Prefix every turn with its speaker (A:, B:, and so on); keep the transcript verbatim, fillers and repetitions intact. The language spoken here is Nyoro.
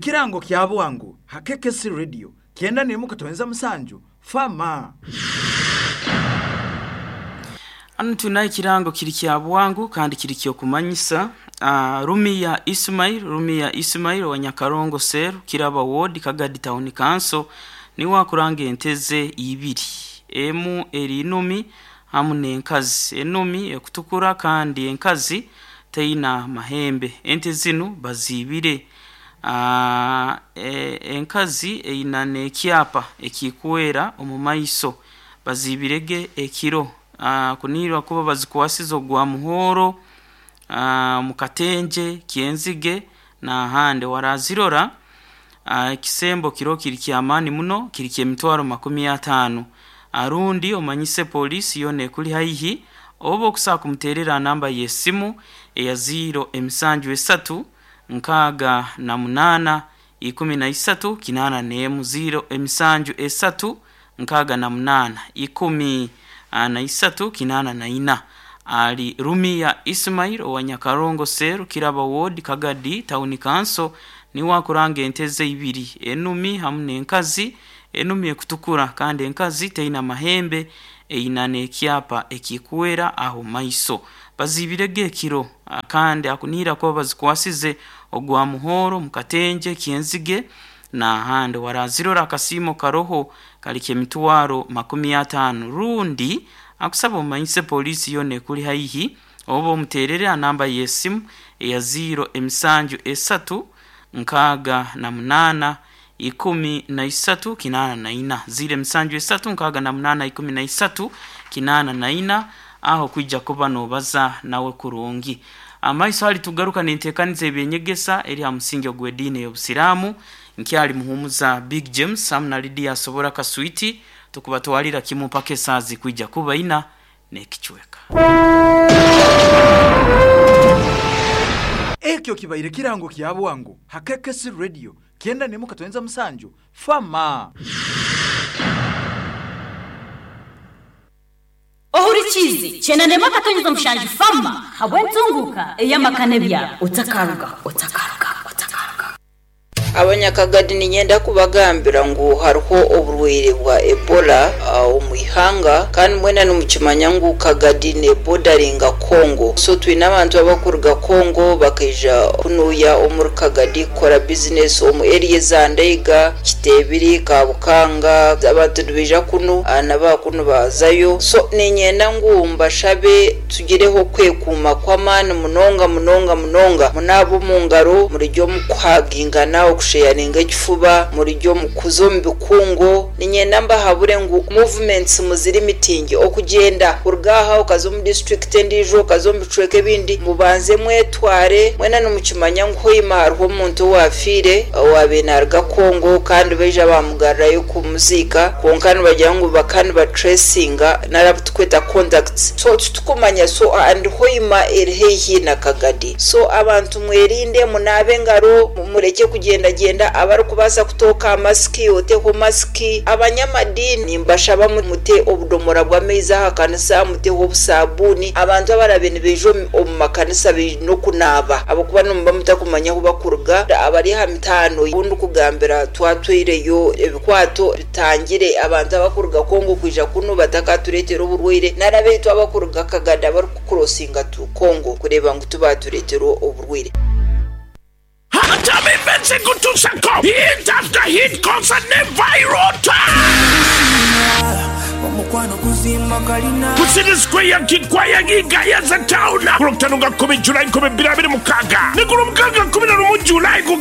A: Kirango kya bwangu hakekesi radio kyenda nemu katonza musanju fama.
B: Anu tunaye kirango kiri kya bwangu kandi kiri kyo kumanyisa uh, Rumiya Ismail Rumiya Ismail wa Nyakarongo Seru Kiraba Ward Kagadi Town Council ni wakuranga enteze ibiri emu eri inumi hamu n'enkazi. Enumi ekutukura kandi enkazi teina mahembe. Ente zinu bazibire. Uh, e, enkazi eina n'ekyapa ekikwera omu maiso bazibirege ekiro. Uh, kunirwa kuba bazikwasiza ogwa muhoro uh, mukatenje kyenzige na hande warazirora. uh, ekisembo kiro kiri kyamani muno kiri kyemitwaro makumi atano. Arundi omanyise polisi yone kuli haihi oba okusa kumuterera namba y'essimu eya ziro emisanju esatu nkaaga na munana ikumi na isatu kinana n'emu ziro emisanju esatu nkaaga na munana ikumi na isatu kinana na ina. Ali Rumiya Ismail owa Nyakarongo Seru Kiraba Ward Kagadi Town Council ni wakuranga enteze ibiri enumi hamu n'enkazi. Enumi ekutukura kandi enkazi teina mahembe eina n'ekyapa ekikwera aho maiso. Bazibirege ekiro kandi akunira ko bazikwasize ogwa muhoro mukatenje kyenzige na hande warazirora. Akasimo karoho kali kyemitwaro makumi atano. Rundi akusaba omanyise polisi yone kuli haihi oba omuterere anamba y'essimu eya ziro emisanju esatu nkaaga na munana ikumi na isatu kinana na ina ziro emisanju esatu nkaaga na munana ikumi na isatu kinana na ina. Aho kwijja kuba nobaza nawe kurungi. Amaiso hali tugaruka nintekaniza ebyenyegesa eri ha musingi ogw'ediini y'obusiraamu nkyali muhumuza Big James hamu na Lydia Asobora Kaswiti tukubatwalira kimu mpaka esaazi kwijja kuba ina n'ekicweka.
A: Ekyo kibaire kirango kya bwangu hakekesi radio kyenda nemu katonza musanju fama.
C: Ohurikizi kyenda nemu katonza mushanju fama habwentunguka eyamakane bya otakaruga otakaruga otakaruga.
D: Abanyakagadi ninyenda kubagambira ngu hariho oburwaire bwa Ebola omu ihanga kandi mwena nimukimanya ngu Kagadi ne bordaringa Congo, so twine abantu abakuruga Congo bakaija kunuya omuri Kagadi kukora business omu area za Ndeiga, Kitebiri, Kabukanga. Abantu nibaija kunu naba kunu bazayo, so ninyenda ngu mbashabe tugireho kwekuuma kw'amaani munonga munonga munonga munaaba omu ngaro murijyo mukuhagingana okusheyaringa ekifuba murijyo mukuza omu bikungo. Ninyenda mbahabure ngu movements muziri mitingi okugenda kuruga aha okaza omu district endiijo okaza omu bicweka ebindi mubanze mwetware. Mwena nimukimanya ngu hoima hariho omuntu owafiire owabiire naaruga Congo kandi baija bamugarurayo kumuziika, kwonka nibagira ngu bakaba nibatracinga nari tukweta contacts, so titukumanya. So and hoima eri haihi na Kagadi, so abantu mwerinde munaabe engaro mureke kugenda genda. Abarikubaasa kutooka masiki oteho masiki. Abanyamadini mbashaba mute obudomora bw'amaizi aha kanisa, muteho obusabuni. Abantu abarabe nibaija omu makanisa baine okunaaba ahabw'okuba nimuba mutakumanya ahu bakuruga. Abari aha mitaano obundi kugambira twatwireyo ebikwato bitangire abantu abakuruga Congo kwija kunu batakatureetera oburwaire, nari abaitu abakuruga Kagadi abarikukurosinga tu Congo kureeba ngu tubatureetera oburwaire.
E: Hit after hit concert ne viral. Kusini Square Kikwaya Gigayaza Town. Kulokutano nga kumi Julai nkumi bbiri abiri mukaaga ne ku Lwomukaaga kumi na lumu Julai ku